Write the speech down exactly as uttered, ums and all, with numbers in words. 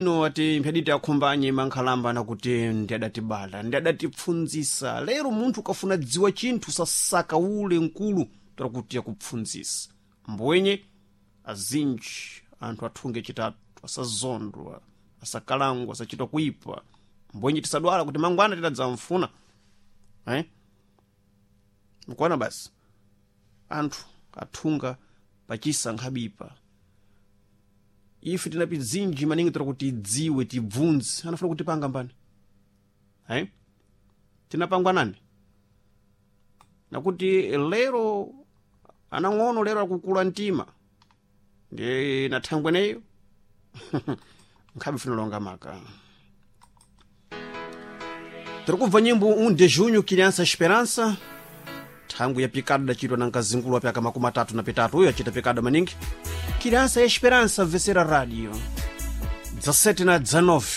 Ino ati mphaditi akhumbanye mankhalamba nakuti ndi adatibala ndi adatipfundzisa lero munthu ukafuna dziwa chinthu sasaka ule mkulu takuti akupfundzisa mbwenye azinji anthu athunge chitatu asazondwa asakalangwa asachitwa kuipa mbwenye tisadwala kuti mangwana titadzamfuna eh? mkuona basi anthu athunga pachisa nkhabipa ife tinapi dzinji maningi tira kuti tidziwe tibvunze anafuna kutipanga mbani eh? tinapangwa nani nakuti lero anang'ono lero akukula mtima ndi nathangweneyo nkhabe funa longa maka tiri kubva nyimbo um de junho criança esperança thangwi ya pikada dachitwa na nkazingulu apyaka makumi atatu na pitatu uyo achita pikada maningi criança esperança vesera radio dezessete na dezenove.